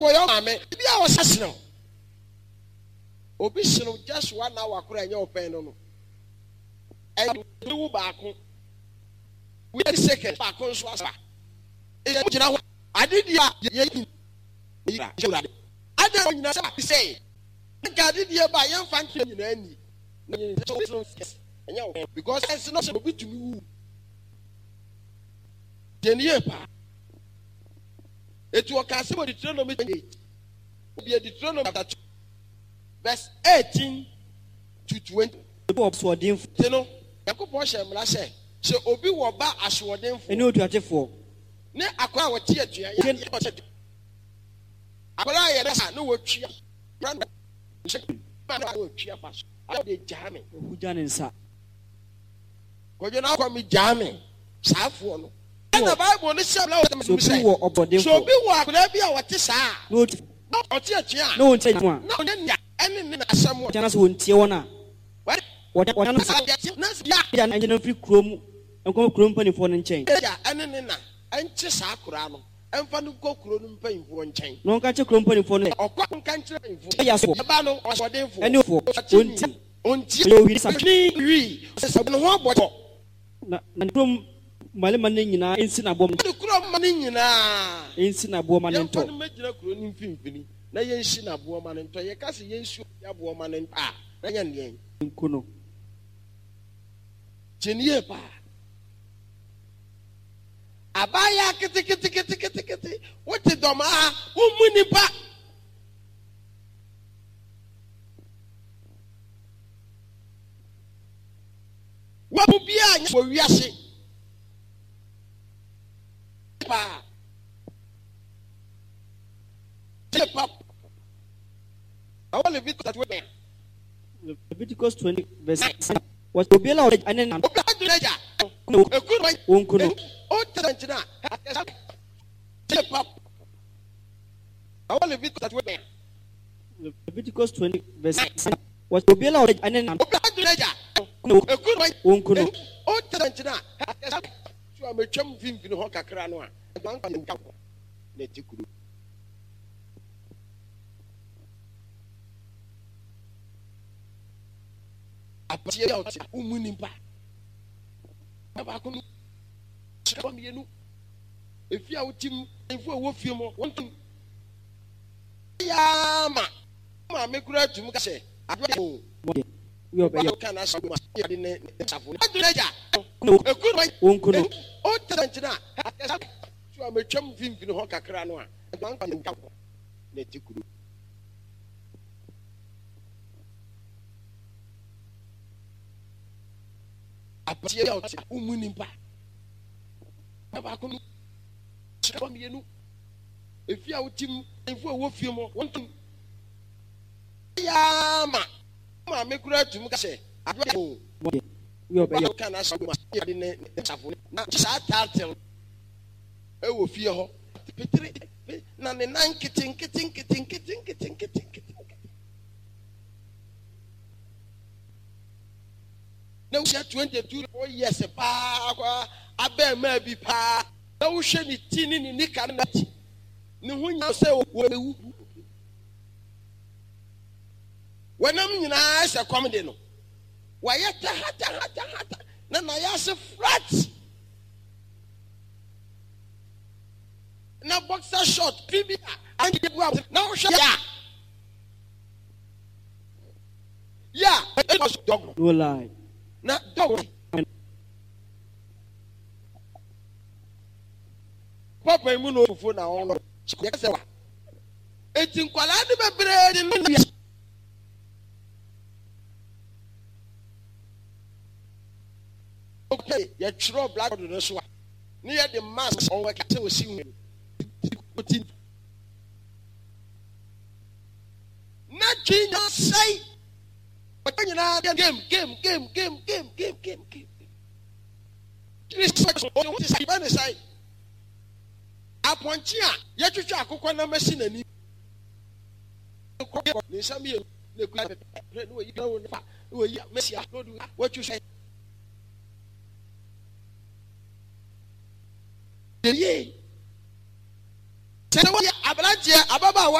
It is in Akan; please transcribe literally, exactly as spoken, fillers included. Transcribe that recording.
Wɔyɛ maame bi a ɔsɛ senew obi senew just one hour koraa ɛnyɛ ɔpɛn no no ɛyɛ wu baako wíyɛ second baako nso asa ɛyɛ gyina hɔ ade di a yɛ yi yɛ ade a nyina sɛ sɛ nka ade die ba yɛn fa nkyɛn nyinaa ni na yɛn sɛ ɛnyɛ ɔpɛn because ɛsɛ no sɛ obi tumi wu deɛ ne yie paa. Eti ɔka asɛm wɔ Deuteronomy twenty eight. Obi Deuteronomy chapter two verse eighteen to twenty. Obi wɔ asoɔdenfoɔ. Ti no, Nyankopɔn hyɛ mmara sɛ, sɛ obi wɔ ba asoɔdenfoɔ. Ɛne otuatefoɔ. Ne akwadaa a wɔte atua yɛ adeɛ a ɔsɛ akwadaa a yɛrɛ sa ne wɔtwia kura no nhyɛ ma na wɔtwia fa so ayɛ de gyaa me. Ohugya ne nsa. Kwadwo na akɔ me gyaa me saafoɔ no. Ɛna Bible no hyɛ mmara wɔ Sɛ obi wɔ ɔbɔdenfoɔ. Sɛ obi wɔ akwadaa bi a ɔte saa a. Na ɔti. Na ɔte atua a. Na ɔntie a. Na ɔnyɛ nea ɛne ne na asɛm wɔ. Na sɛ ɔntie wɔn a. Wɔde wɔn nsa. Na sɛ ya. Agya no nkyɛn mfiri kurom nkɔ kurom mpanimfoɔ no nkyɛn. Agya ɛne ne na nkye saa akwadaa no mfa no nkɔ kuro no mpanimfoɔ nkyɛn. Na ɔnka nkyerɛ kurom mpanimfoɔ no sɛ. Ɔkɔ nka nkyerɛ mpanimfoɔ. Ɛyɛ asoɔ. Ɛba no ɔsoɔdenfoɔ. Ɛne ofoɔ. Ɔntie. Ɔntie. Ɔyɛ owini sa. Ɔtwe wii. Ɔsɛ ne ho abɔ. Na na ne kurom mmarima no nyinaa nsi n'aboɔ ma. Ne kurom mma no nyinaa. Nsi n'aboɔ ma no ntɔ. Yɛmfa no mmɛgyina kuro no mfimfini na yɛnsi n'aboɔ ma no ntɔ. Yɛka sɛ yɛnsi obi aboɔ ma no ntɔ a, na ɛnyɛ ndeɛn? Nku no. Tie no yie paa. Abaayewa keteketeketekete, wote dɔm a, wommu nnipa. Wabu biara nyɛ wɔ wiase paa. Pa. Ɛwɔ Leviticus twenty. Leviticus twenty verse nine. Wɔsɛ obiara a ɔbɛgya ne na. Obiara a ɔbɛgya. Eku no. Wɔnku no. Old Testament na. Pa. Ɛwɔ Leviticus twenty. Leviticus twenty verse nine. Wɔsɛ obiara a ɔbɛgya ne na. Obiara a ɔbɛgya. Eku no. Wɔnku no. Old Testament na. So a metwam mfimfini hɔ kakra no a, na ɛte kuro. Aberanteɛ bi a ɔte wo nipa baako no hyɛ mmienu efi a wote mu mfo a ɛwɔ fie mu wɔn tum yaa ma maame kura tum ka sɛ adeɛ o ɔba ka na asɔ ma yɛ ne ne safo ɔdun agya eku no wɔnku no o tɛ nkyɛn a so a metwam mfimfini hɔ kakra no a na ɛte kuro. Aberanteɛ bi a ɔte wo nipa baako no hyɛ mmienu efi a wote mu mfo a ɛwɔ fie mu wɔn tum yaa ma maame kura tum ka sɛ adeɛ o ɔba ka na asɔ ma yɛ ne ne safo na saa taatel ɛwɔ fie hɔ pitiri na ne nan nkete nkete nkete nkete nkete nkete nkete. Na wohyɛ twenty two four years paa kwa abɛɛmaa bi paa na wohwɛ ne ti ne ne nika ne ti ne ho nyinaa sɛ wɔbɛwu wɔnam nyinaa sɛ kɔm de no wɔayɛ tahatahata na nayɛ ase flat na boxer short fi bi a anke bu a na wohwɛ yɛ a yeah dog no lie na dog papa mu no fufu na ɔno yɛ sɛ wa eti nkwalaa de bebree de no yɛ okay yɛtwerɛ blackboard no so a ne yɛ de mask ɔwɔ kɛse osi hu ti na twi nya sɛe ɔtɔ nyinaa game game game game game game game game tiri sɛ ɔho te sɛ ne sɛe apɔnkye a yɛtwitwa akokɔ nam asi n'ani ne nsa mmienu na ekura pɛpɛ na wɔyi na wɔn fa na wɔyi mesia na wɔde wɔtwi sɛ yie Sɛ woyɛ aberanteɛ, ababaawa.